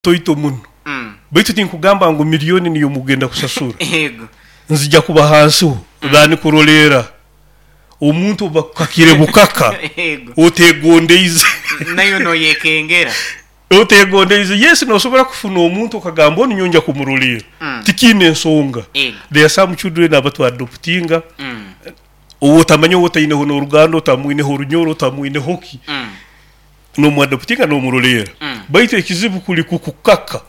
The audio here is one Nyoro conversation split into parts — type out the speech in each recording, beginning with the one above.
Toito muno. Baitu tinkugamba ngu milioni niyo mugenda kusasura. Yego. Nzija kuba hansiho than kuroleera omuntu obu bakukakire bukaka Yego. otegondeize. Naiwe noyekengera. Otegondeize. Yes, nosobora kufuna omuntu okagamba onu nyowe nja kumuroleera. Tikiine ensonga. Yego. There are some children abatu adoptinga ou otamanya ou otaineho n'oruganda, otamwineho orunyoro, otamwineho ki. Nomuadoptinga nomuroleera baitu ekizibu kuli kukukaka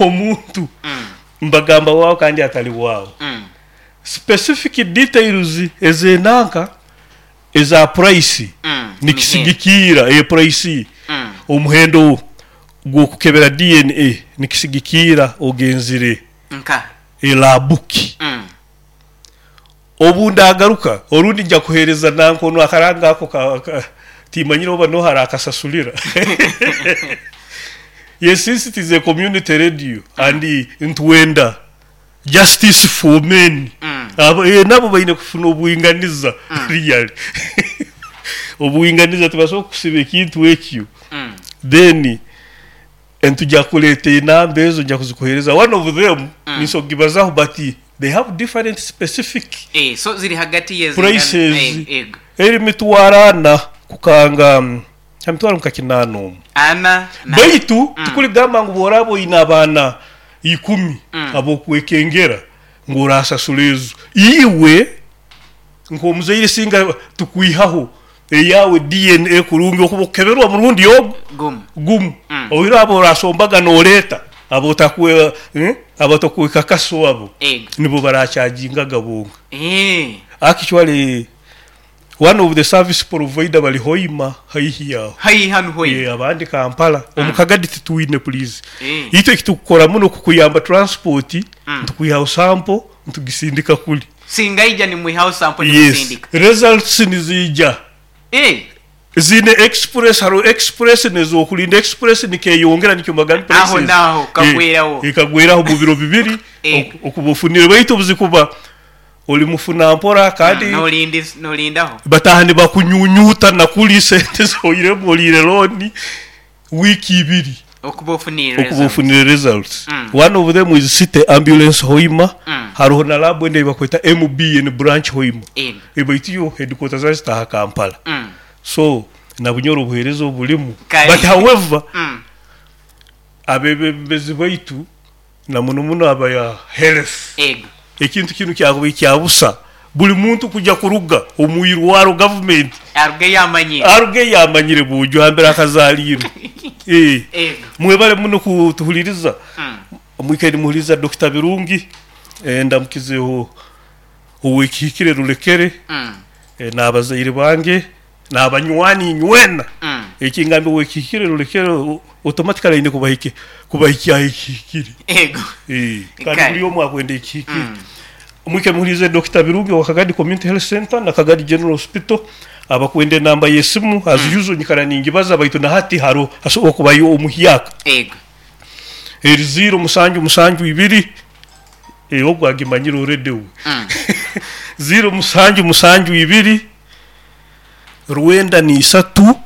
omuntu mbagamba waawe kandi atali waawe. Specific details ezenanka eza price nikisigikiira e price omuhendo gwokukebera DNA nikisigikiira ogenzire e lab ki. Obu ndaagaruka, orundi nja kuheereza nanka onu akaranga ako ka, ka, timanyire oba nooha araakasasulira. Yes, since it is a community radio and nitwenda justice for men, abo, eh, nabo baine kufuna obwinganiza really. Obwinganiza tibasobola kukusiba ekintu ekyo then Nituja kureeta enamba ezo nja kuzikuheereza one of them ninsobola kugibazaho but they have different specific Eh, so ziri hagati yezingana prices eh, ego. eri mitwaro ana kukanga ha mitwaro nka kinaana omu. Ana na Baitu tikurigamba ngu bworaba oine abaana ikumi ab'okwekengera ngu orasasura ezo. Iwe Nk'omuzaire singa tukwihaho eyaawe DNA kurungi okuba okukeberwa omurundi ogu Gumu. gumu. Oihireho abo orasombaga noreeta abotakwe abatakwekakaso abo Ego. nibo barachagingaga bonka. Eeh. Actually one of the service provider bari Hoima haihi aho. Haihi hanu Hoima. Eeh abandi Kampala. Omu Kagadi titwine please. Eeh. Itwe ekitukukora muno kukuyamba transport nitukwihaho sample nitugisindika kuri. Singa aija nimwihaho sample Yes, nimusindika. results niziija. Eh. Ziine express, hariho express n'ezokurinda express nikeyongera nikyo mbagambire Aho prices. naaho Eh, kagweraho. ekagweraho omu biro bibiri Eh. okuba ofunire baitu obuzikuba ori mufuna mpora kandi Nolindaho. bataaha nibakunyunyuuta na kuri sente zihoiremu oriire loan. Wiiki ibiri Okuba ofunire okuba results. ofunire results. One of them is City Ambulance Hoima, haroho na lab endi eyibakweta MBN Branch Hoima baitu yo headquarters zayo zitaaha Kampala. So na Bunyoro obuheereza obulimu Kare. but however abebembezi baitu na muno muno aba health Ego. ekintu kinu kyakubaire kya busa buli muntu kuja kuruga omu irwaro gavumenti Arugeyo amanyire. arugeyo amanyire bwojo hambere akazaliirwe. Eeh. Ego. Mwebale muno kutuhuliriza. Mwikaire nimuhuliriza Dokita Birungi. Ndamukizeho ow'ekihikire Rulekere n'abazaire bange. N'abanywani inywena. Ekingambire ow'ekihikire rulekere automatically aine kubahikya aha ekihikire. Ego. Kandi buri omwe akwenda ekihikire. Mwike muhuriize Dokita Birungi owa Kagadi Community Health Centre na Kagadi General Hospital. Abakwenda enamba y'esimu as usual nyikara ningibaza baitu na hati haroho hasobora kubayo omuhyaka. Ego. Eri ziiro musanju musanju ibiri, ogu agimanyire already uwe. Ziiro musanju musanju ibiri. Rwenda n'isatu,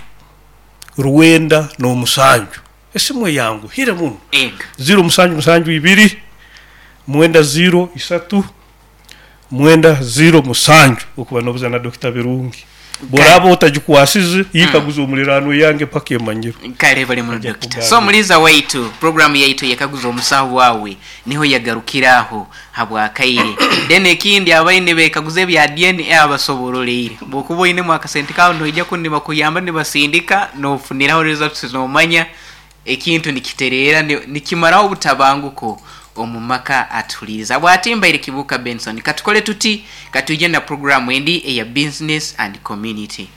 rwenda n'omusanju. Esimu eyanguhire muno. Ego. Ziiro musanju musanju ibiri, mwenda ziiro isatu, mwenda ziiro musanju. Okuba n'obuza na Dokita Birungi. Bw'oraaba otagikwasize, yikaguze omuliraanwa eyange paka emanyirwe. Kale bali muno Ajja Dokita. kukugambira. So muliza waitu, program yaitu eyekaguza omusaho wawe niho yagarukira aho. Habw'akaire. Then ekindi abaine nibekaguza ebya DNA abasoboroleire. Bwokuba oinemu akasente kawe noija kunu nibakuyamba nibasindika nofuniraho results nomanya ekintu nikitereera nikimaraho obutabanguko omu maka atuhuliriza. Bwati mbaire Kibuuka Benson. Katukole tuti katwije na program endi eya Business and Community.